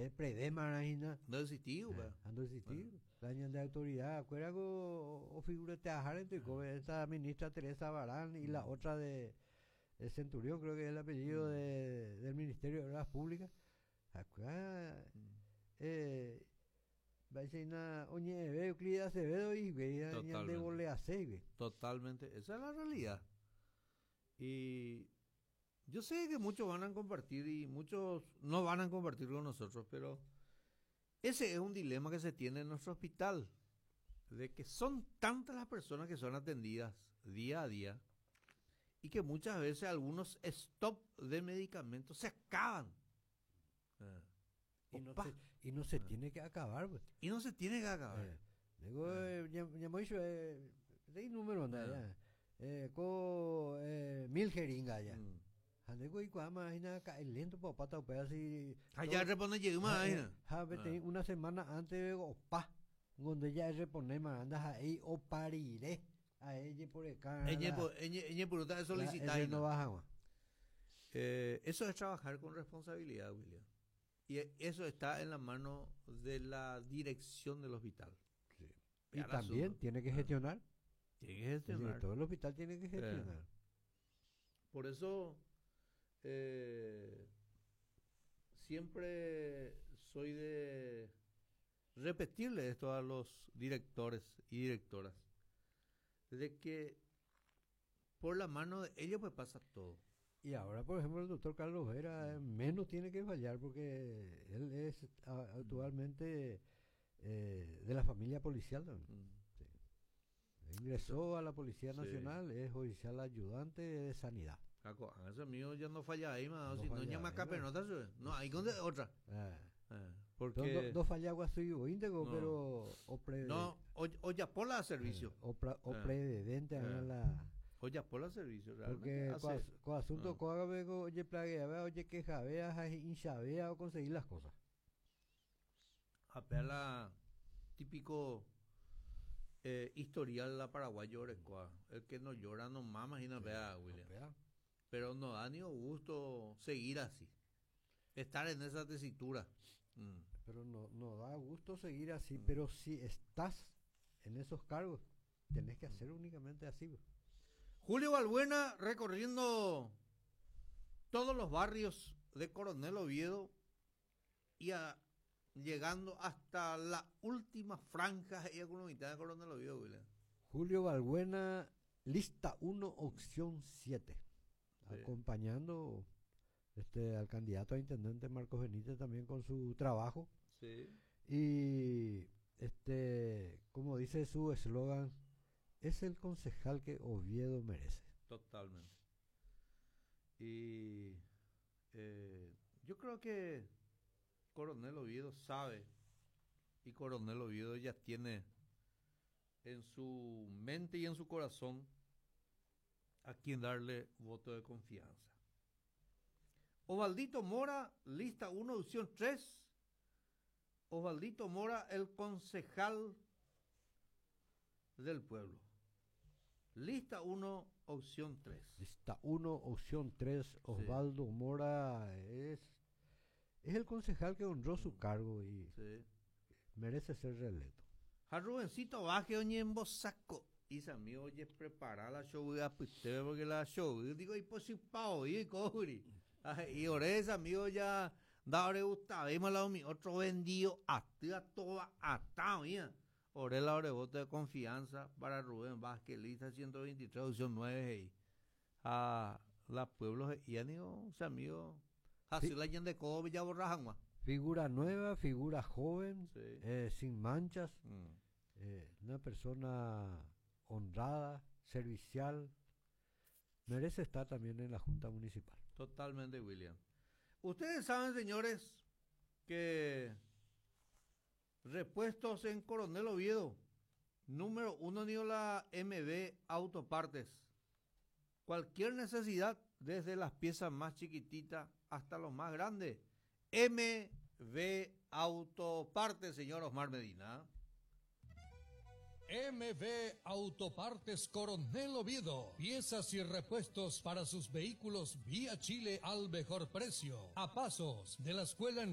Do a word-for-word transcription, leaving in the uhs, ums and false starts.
Eh, predema hína. No existí, eh, no existí. La ñande autoridad, acuerda o figurateajárente, esta ministra Teresa Barán y la otra de, de Centurión, creo que es el apellido de, del Ministerio de Obras Públicas. Acá, eh, oñe'ẽ Euclides Acevedo y Totalmente. Totalmente, esa es la realidad. Y yo sé que muchos van a compartir y muchos no van a compartir con nosotros, pero ese es un dilema que se tiene en nuestro hospital, de que son tantas las personas que son atendidas día a día y que muchas veces algunos stop de medicamentos se acaban. Ah. Y no, se, y no se ah. tiene que acabar. Pues. Y no se tiene que acabar. Eh, digo, eh, ya, ya me dicho, eh, de número anda ya. Eh, ko eh, mil jeringas ya. Mm. Handeko ikuama hína lento pa pata así. Ya repone lleguma Ja, una semana antes opa, donde ya repone más anda ahí opariré a ella por acá. Ella ella por solicitar. No baja. Eh, eso es trabajar con responsabilidad, William. Y eso está en la mano de la dirección del hospital. Sí. Y también tiene que gestionar. Tiene que gestionar. Todo el hospital tiene que gestionar. Por eso eh, siempre soy de repetirle esto a los directores y directoras, de que por la mano de ellos pues pasa todo. Y ahora, por ejemplo, el doctor Carlos Vera menos tiene que fallar porque él es actualmente eh, de la familia policial también. Mm. Sí. Ingresó a la Policía Nacional, sí. Es oficial ayudante de sanidad. Eso mío ya no falla ahí, más, no, si no llama capenota, no, ahí con otra. Ah. Ah, porque no, no falla guasu íntegro, no. Pero o pre, no, o, o ya por la servicio. Eh, o, pra, o ah. prededente ah. la o ya por la servicio, realmente. Porque con asunto ah. Oye plaguea, oye queja, hinchavea o conseguir las cosas. Apela típico eh, historial la paraguayo el que no llora no mama y no vea, William. No pero no da ni gusto seguir así, estar en esa tesitura. Mm. Pero no, no da gusto seguir así, mm. Pero si estás en esos cargos, tenés que hacer únicamente así. Julio Balbuena recorriendo todos los barrios de Coronel Oviedo y a, llegando hasta la última franja y con la mitad de Coronel Oviedo, William. Julio Balbuena, lista uno, opción siete. Sí. Acompañando este al candidato a intendente Marcos Benítez también con su trabajo. Sí. Y este, como dice su eslogan, es el concejal que Oviedo merece. Totalmente. Y eh, yo creo que Coronel Oviedo sabe y Coronel Oviedo ya tiene en su mente y en su corazón a quien darle voto de confianza. Osvaldito Mora, lista uno, opción tres. Osvaldito Mora, el concejal del pueblo. Lista uno, opción tres. Lista uno, opción tres. Osvaldo sí. Mora es, es el concejal que honró su cargo y sí. merece ser reelecto. A Rubencito Vázquez, oñembosaco. Y amigo, oye, prepara la show a porque la show, digo, y pues si pao, y cobri. Y esa amigo ya, da ore gusta, vemos la mi otro vendido, hasta toda hasta, mía. Ore la ore voto de confianza para Rubén Vázquez, lista ciento veintitrés, opción nueve, a la pueblo, y amigo, o sea, amigo, así la de Kobe ya borra. Figura nueva, figura joven, sí. eh, sin manchas, mm. eh, una persona honrada, servicial, merece estar también en la Junta Municipal. Totalmente, William. Ustedes saben, señores, que repuestos en Coronel Oviedo, número uno, ni la M B Autopartes. Cualquier necesidad, desde las piezas más chiquititas hasta los más grandes. M B Autopartes, señor Osmar Medina. M B Autopartes Coronel Oviedo. Piezas y repuestos para sus vehículos vía Chile al mejor precio. A pasos de la escuela en